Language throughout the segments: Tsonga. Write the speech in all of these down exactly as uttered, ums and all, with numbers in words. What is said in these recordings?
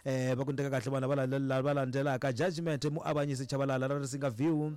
eh va ku ni teka kahle vanhu lava va landzelaka Judgment Muavanyisi Chabalala ra Risinga View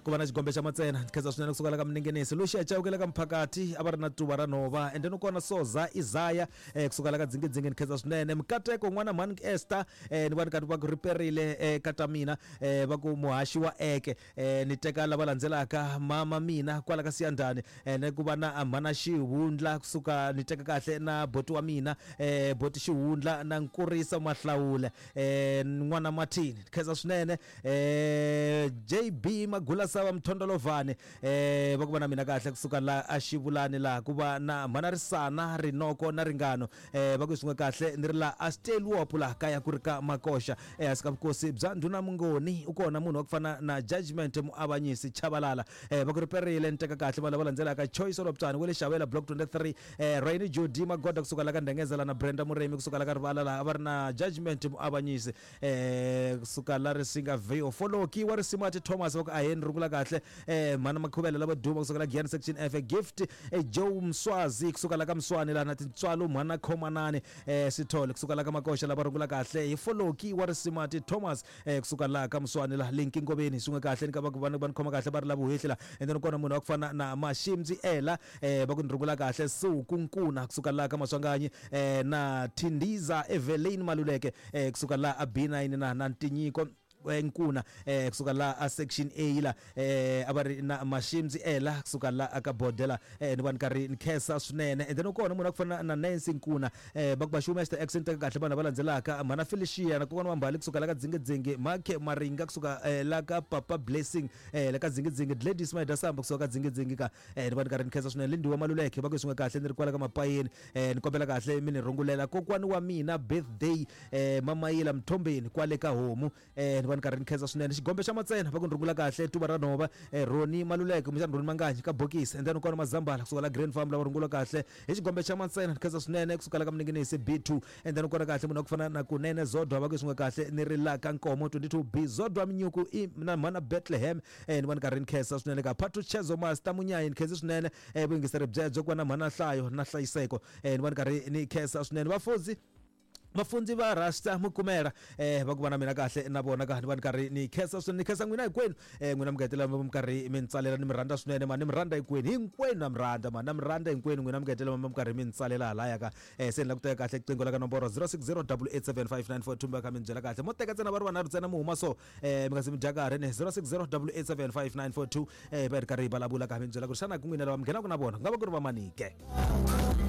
ku va na xigombe xa matsena. Ni khensa swinene kusuka la ka Mningenisi Lucia Chauke la ka Mphakati a va ri na tuva ra nhova, and then kona Soza Isaya eh kusuka la ka Dzingidzingi. Ni khensa swinene Mkateko n'wana mhani Esther eh ni va ni karhi va ku riperile eh kata mina eh va ku muhaxi wa eke eh ni teka lava landzelaka mama mina kwala ka Siyandhani eh ni ku va na mhana Xihundla kusuka ni teka kahle na boti wa mina eh boti Xihundla na Nkurisa Mahlawule eh n'wana Martin. Ni khensa swinene eh J B Magula Sava Mthondolovhane eh va ku va na mina kahle kusuka la a Xivulani la ku va na mhana Risana Rinoko na Ringano eh va ku swin'we kahle ni ri la a Stelwop la kaya ku ri ka Makoxa ehansi ka vukosi bya Ndhuna Mungoni. U kona munhu wa ku fana na Judgment Muavanyisi Chabalala eh va ku riperile. Ni teka kahle vanhu lava landzelaka Choice Loptani wa le Xavela Block twenty-three eh Raini Jody Magoda kusuka la ka Ndengezela na Brenda Muremi kusuka la ka Rivala la a va ri na Judgment Muavanyisi eh kusuka la Risinga View. Foloki wa Risimati Thomas va ku aheni rungula kahle eh mhana Makhuvela lava duma kusuka la Giyani Section F. Gift eh, Joe Mswazi kusuka la ka Mswani la na Tintswalo mhana Khomanani eh Sithole kusuka la ka Makoxa lava rungula kahle hi Foloki wa Risimati Thomas eh kusuka la ka Mswani la Linki Ngoveni swin'we kahle ni ka va ku va ni khoma kahle va ri la vuhehli la. And then kona munhu wa ku fana na Mashimzi Ela eh va ku ni rungula kahle Suku Nkuna kusuka la ka Maswanganyi eh na Thindiza Evelyn Maluleke eh kusuka la a B nine na na Ntinyiko Nkuna eh kusuka la a Section A la eh a va ri na Mashimzi Ela kusuka la aka Bodela eh ni va ni karhi ni khensa swinene. And then kona munhu a ku fana na Nancy Nkuna eh va ku va xuma xita accent kahle vanhu lava landzelaka mhana Felicia na kokwana wa Mbali kusuka la ka Dzingidzingi, Makhe Maringa kusuka eh, la ka Papa Blessing eh la ka Dzingidzingi, Gladys Maida Samba kusuka ka Dzingidzingi ka eh ni va ni karhi ni khensa swinene. Lindiwa Maluleke va ku swin'we kahle ni ri kwala ka Mapayeni eh ni kombela kahle mi ni rungulela kokwani wa mina birthday eh Mamayila Mthombeni kwale ka Homu eh ni va ni karhi ni khensa swinene. Xigombe xa matsena va ku ni rungula kahle tuva ra nhova eh Roni Maluleke kumbexana Roni Manganyi ka Bokisi, and then kona Mazambala kusuka la Grand Farm lava rungula kahle hi xigombe xa matsena. Ni khensa swinene kusuka la ka Mninginisi B two, and then kona kahle munhu wa ku fana na Kunene Zodwa va ku swin'we kahle ni ri la ka Nkomo twenty-two B Zodwa Minyuku i na mhana Bethlehem eh ni va ni karhi ni khensa swinene ka Phathutshedzo Master Munyayi. Ni khensi swinene eh vuyingiseri byebyo ku va na mhana Nhlayo na Hlayiseko eh ni va ni karhi ni khensa swinene. Vafundzi vafundzi va Rasta Mukumela eh va ku va na mina kahle na vona ka ni va ni karhi ni khensa swinene. Ni khensa n'wina hinkwenu eh n'wina mi ngetela mi karhi mi ntsalela ni mi rhandza swinene ma ni mi rhandza hinkwenu hinkwenu na mi rhandza ma na mi rhandza hinkwenu n'wina mi ngetela mi karhi mi ntsalela halaya ka eh se ni la ku teka kahle qingo la ka nomboro zero six zero double eight seven five nine four two mi va kha mi byela kahle mo teka ntsena va ri vanharhu ntsena mi huma so eh mi nga se mi dya karhi ni zero six zero double eight seven five nine four two eh va ri karhi hi vulavula ka mi byela ku ri xana ku n'wina lava mi nghenaka na vona ku nga va ku ri va manike.